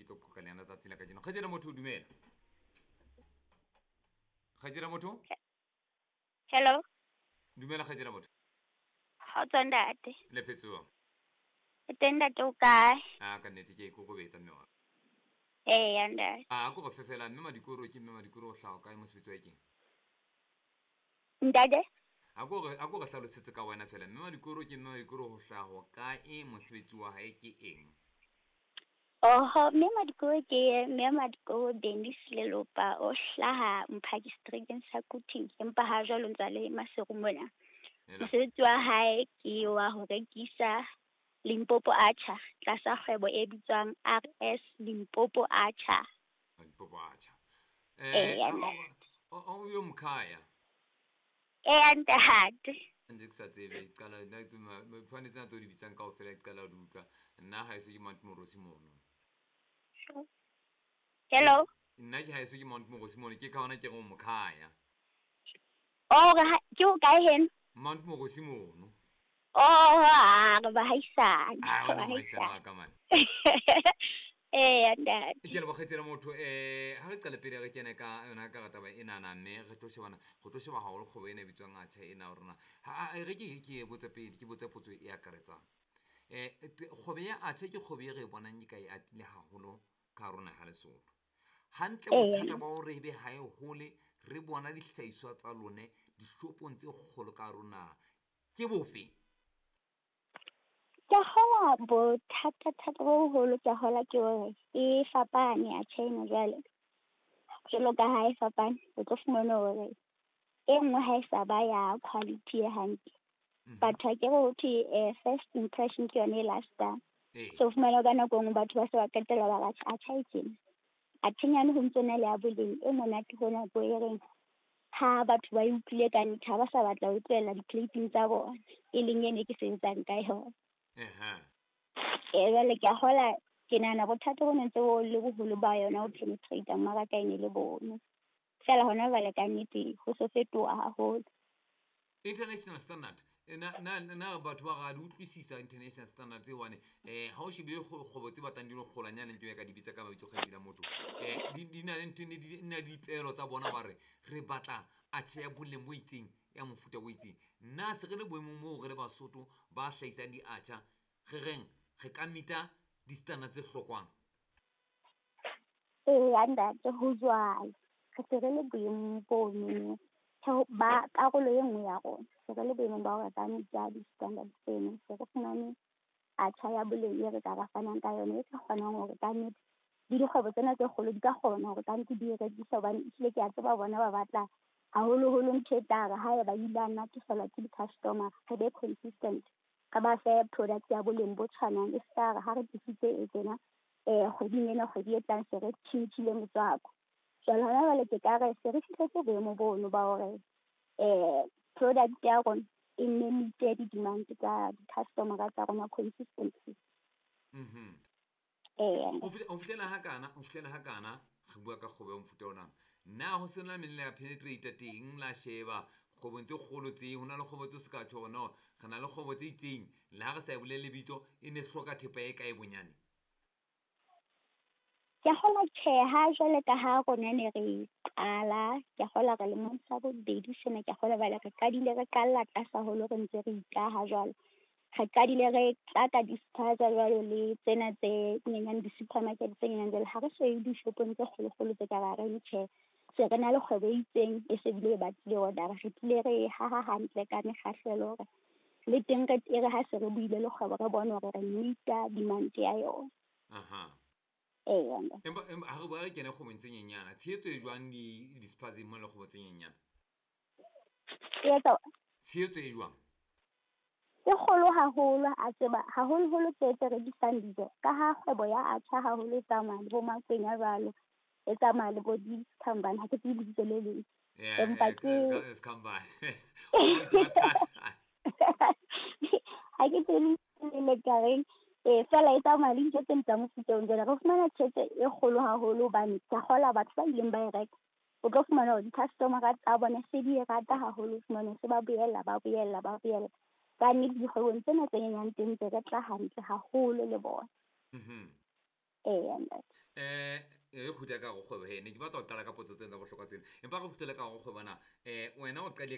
ke tlo qoqa le yena tsatsi la kajeno. Kgaitsedi motho, dumela. Kgaitsedi motho. Hello. Dumela kgaitsedi motho. Kgotso ntate. Le phetsoa. Teng ntate, o kae? A ka nnete ke ikokobetsa mme wa. Eya ntate. A ko go fefela mme Madikoro ke mme Madikoro o hlaha kae, mosebetsi wa keng? Ntate? A ko re hlalosetse ka wena fela. Mme Madikoro ke mme Madikoro ho hlaha kae, mosebetsi wa hae ke eng? Oho, mme Madikoro ke mme Madikoro Dennis Lelopa, o hlaha Mphaki Streeteng sa Quthing, empa ha jwalo ntse a le Maseru mona. Mosebetsi wa hae ke wa ho rekisa Limpopo Atchar tlasa kgwebo e bitswang RS Limpopo Atchar. Limpopo Atchar. Eya. O yo mkhaya. Eya ntate. Ntse ke sa tsebe, qala nna tshwanetse tsena tse o di bitsang kaofela, ke qala ho di utlwa. Nna haeso ke Mount Morosi mono. Hello. Nna ke haeso ke Mount Morosi mono, ke ka hona ke reng o mokhaya. Oh, ke ho kae heno? Mount Morosi mono. Oh, a re bahaisane. Ah, wena mohaisane wa ka mane. Eya ntate. Ke leboga kgaitsedi motho. Ha re qale pele re kene ka yona ka taba enana, mme re tlo shebana, go tlo sheba haholo kgwebo ena e bitswang Atchar ena ya rona. Ha re ke botse pele, ke botse potso e akaretsang. Kgwebo ya Atchar ke kgwebo e re e bonang e ka e atile haholo ka hare ho naha Lesotho. Hantle, bothata ba hore ebe ha e hole re bona dihlahiswa tsa lone dishopong tse kgolo ka hare ho naha ke bofe? Ke kgola bothata-thata bo boholo, ke kgola ke hore e fapane atjha ena jwale. Jwalo ka ha e fapane, o tlo fumana hore e nngwe ha e sa ba ya quality e hantle. Batho akere ho thwe first impression ke yona e last-ang. So fumana ka nako e nngwe batho ba se ba qetella ba re atjha e tjena. Atjhenyane ho ntso na le ya boleng e monate hona bo e reng ha batho ba e utlwile ka nnete ha ba sa batla ho tlohella di-plate-ing tsa bona, e leng ene ke sebetsang ka yona. Jwale ke a kgola, ke nahana bothata bo ne ntse bo le boholo ba yona ho penetrate mmaraka e ne le bono. Feela hona jwale ka nnete ho so fetoha haholo. International standard, na batho ba ra di utlwisisa international standard tse? Hobane ha o shebile kgwebo tse batlang di le kgolwanyane, ke ka di bitsa ka mabitso, kgaitsedi ya motho, di na le ntho, di na le dipehelo tsa bona, ba re re batla atjha ya boleng bo itseng, ya mofuta bo itseng. Nna se re le boemong moo re le Basotho ba hlahisang di-atchar, re reng re ka meet-a di-standard tse hlokwang? Eya ntate, ho jwalo. Re se re le boemong bono ba karolo e nngwe ya rona. Se re le boemong ba hore ka meet-a di-standard tseno. Se re fumane atjha ya boleng e re ka ba fanang ka yona, e ka kgonang hore kannete le dikgwebo tsena tse kgolo di ka kgona hore kannete di e rekise, hobane ehlile ke a tseba bona ba batla haholoholo ntho e tla re haeba ile a natefelwa ke di-customer, re be consistent, re ba fe product ya boleng bo tshwanang, e ska re ha re tlisitse e tjena kgweding ena, kgwedi e tlang se re tjhentjhile motswako. Jwale hona jwale ke ka re se re fihletse boemo bono ba hore product ya rona e nne meet-e di-demand tsa di-customer tsa rona consistently. Eya. Ho fihlela ha kana re bua ka kgwebo ya mofuta ona, na ho sena menne ya penetrate teng, la sheba kgwebong tse kgolo tse ho na le kgwebo tse se ka tjho hore no re na le kgwebo tse itseng, le ha re sa e bolele lebitso, e ne hloka thepa e kae bonyane? Ke kgolwa tjhe, ha jwale ka ha rona ne re qala, ke kgolwa re lemong sa bobedi sena, ke kgolwa jwale re qadile re qalla tlase haholo, re ntse re ikaha jwalo. Re qadile re tla ka di-spaza jwalo le tsena tse nyenyane, di-supermarket tse nyenyane. Jwale ha re so ye dishopong tse kgolokgolo tse ka ba reng tjhe, se re na le kgwebo e itseng e se bile e batlile order. Re tlile re e haha hantle ka mekgahlelo hore le teng re e re ha se re buile le kgwebo, re bone hore re meet-a demand ya yona. Eya. Empa ha re bua, re kene kgwebong tse nyenyana, tshehetso e jwang di-spazeng mo le kgwebo tse nyenyana? E etsa Tshehetso e jwang? E kgolo haholo, a tseba haholoholo tse tse rekisang dijo, ka ha kgwebo ya atjha haholo e tsamaya le bo makwenya jwalo, e tsamaya le bo dikhambane, ha ke tsebe lebitso le leng. Empa ke Sekhambane. Ha ke tsebe le ka reng, feela e tsamaya le dijo tse tsa mofuta oo. Jwale re fumana tjhelete e kgolo haholo hobane ke a kgolwa batho ba ileng ba e reka, o tlo fumana hore di-customer-a tsa bona se di e rata haholo, o fumane se ba boela, ba boela, ba boela. Ka nnete dikgwebong tsena tse nyenyane teng ntse re tla hantle haholo le bona. Eya ntate. Re kgutla ka go kgwebo he, ne ke batla ho qala ka potso tsena tsa bohlokwa tsena, empa re kgutlele ka go kgwebo na. Wena o qadile